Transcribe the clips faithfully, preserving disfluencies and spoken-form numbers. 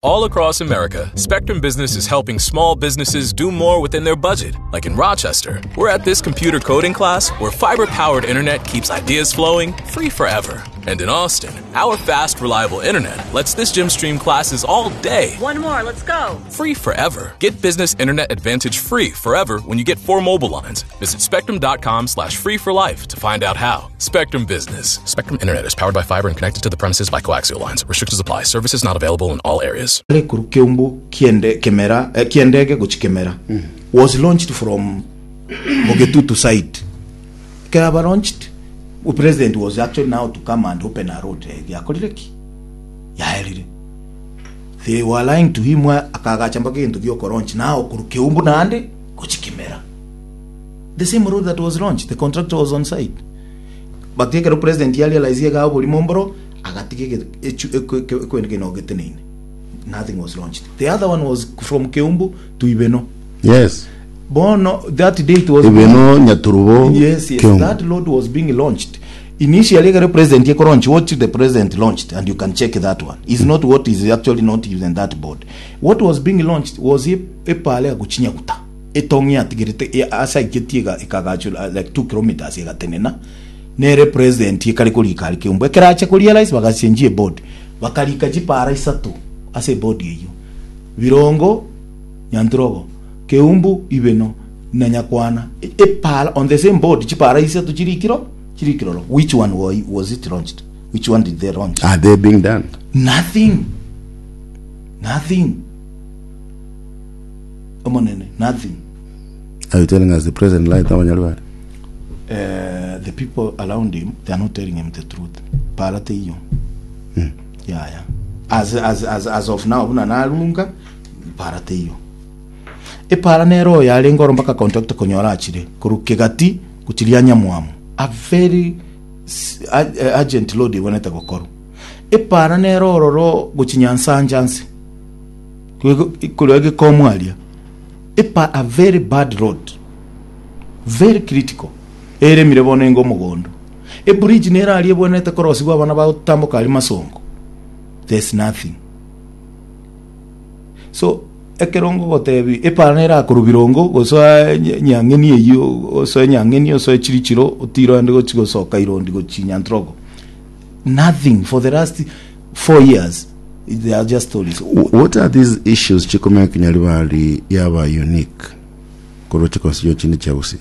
All across America, Spectrum Business is helping small businesses do more within their budget. Like in Rochester, we're at this computer coding class where fiber powered internet keeps ideas flowing free forever. And in Austin, our fast, reliable internet lets this gym stream classes all day. One more, let's go. Free forever. Get business internet advantage free forever when you get four mobile lines. Visit spectrum.com slash free for life to find out how. Spectrum Business. Spectrum Internet is powered by fiber and connected to the premises by coaxial lines. Restrictions apply. Services not available in all areas. Korwa Keumbu kiende Kemera eh, kiendege gochi Kemera was launched from Bogetutu side. Keraba launched, the president was actually now to come and open a road eh, yakorire ki yaerire they were lying to him akagacha mpaka egento giokolaunch now korwa Keumbu naende gochi Kemera the same road that was launched the contractor was on site but ekero president yarealize iga oborimo mboro agatiga ege- echu- ekwe- ekwe- ekwende nogeteneine nothing was launched the other one was from Keumbu to Ibeno yes bono that day it was Ibeno Nyaturubo yes yes Keumbu. that road was being launched initially ekero president ekolaunch what the president launched and you can check that one is not what is actually not even that board what was being launched was e- epale agochinya etong'i atigerete e- asaiketie ega- ekagachwa like two kilometers egatenena nere president ekare korika ari Keumbu ekero acha korealize bagachenjia eboard bakarika chipara isato ase eboard eywo Birongo Nyantrogo Keumbu Ibeno na Nyakwana E- epara on the same board chipara isato chirikiro chirikiroro which one was, was it launched which one did they launch are they being done nothing nothing omonene nothing are you telling us the president lied abanyarwanda uh, the people around him they are not telling him the truth para teiyo yeah yeah as, as, as, as of now buna narunga para teiyo epara nero yarenge oro mpaka contractor konyora achire korwa kegati gochiria nyamwamu a very s- a- urgent load ibonete gokorwa epara nero ororo gochinyansanja nse korwa egekomwaria epa a very bad road very critical eremire bono enga omogondo ebridge nere aria ebwenerete korosigwa abana bagotamboka aria masongo there's nothing so ekero ngogotebi epara nere akorwa birongo gosoa nya- nyang'eni eywo osoe nyang'eni osoe chirichiro otire oende gochi gosoka irondi gochi nyantrogo nothing for the last four years they are just stories what are these issues chikomeka Nyaribari yaba unique korwa chiconstituency chinde chia Gusii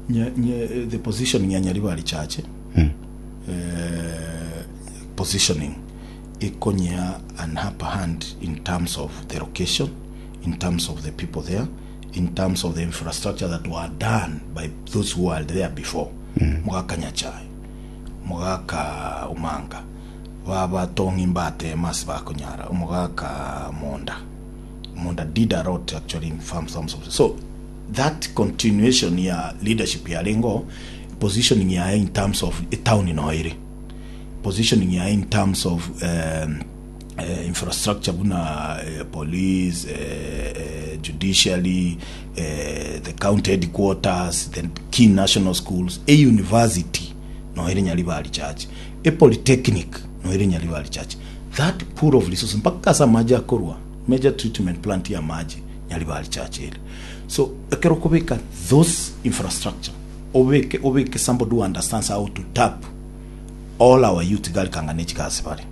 Nye, nye, the positioning ya Nyaribari Chache mm. uh, positioning ikonya an upper hand in terms of the location in terms of the people there in terms of the infrastructure that were done by those who were there before mm. mugaka Nyachae mugaka Umanga babatongi mbate masi bakonyara omugaka Monda Monda did a lot actually in farm some of so that continuation ya leadership ya lengo positioning ya in terms of a town inoire positioning ya in terms of um, uh, infrastructure buna uh, police uh, uh, judiciary uh, the county headquarters the key national schools a university noire Nyaribari Church a polytechnic noire Nyaribari Church that pool of resources mpaka asa maji akorwa major treatment plant ya maji Nyaribari Church ere so ekero kobeka those infrastructure obeke obeke somebody who understands how to tap all our youth gari kangane chikasi pale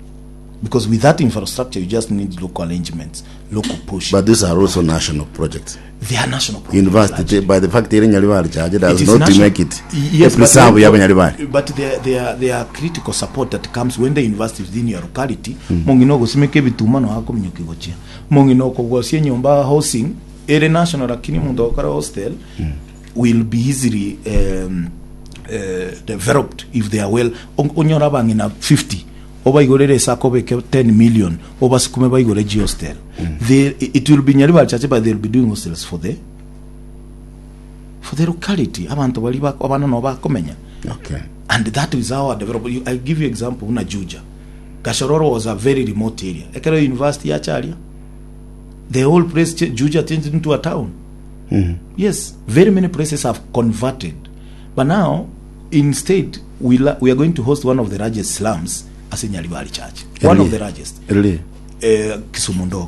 because with that infrastructure you just need local arrangements local push but these are also national projects they are national projects university by the fact iri Nyaribari Church It does is not national- make it Yes, a preserve but, ya Nyaribari but there, there, there are critical support that comes when the university is in your locality mm. mong'ina ogosimeka ebituma no akominyoki gochia mong'ina okogosia enyomba housing ere national lakini omonto ogokora hostel mm. will be easily um, uh, developed if they are well On- onyora abang'ina fifty obaigorere esako obeke ten million obasukume baigore g hostel mm. they, it will be Nyaribari Church but they will be doing hostels for the for the locality abantu bari bak- abana no bakomenya okay and that is how I develop. You- I give you example una Juja Gashororo was a very remote area ekero university yacharia the whole place ch- Juja changed into a town yes very many places have converted but now instead we, la- we are going to host one of the largest slums as in Nyaribari Church one of the largest really eh, Kisumu ndogo.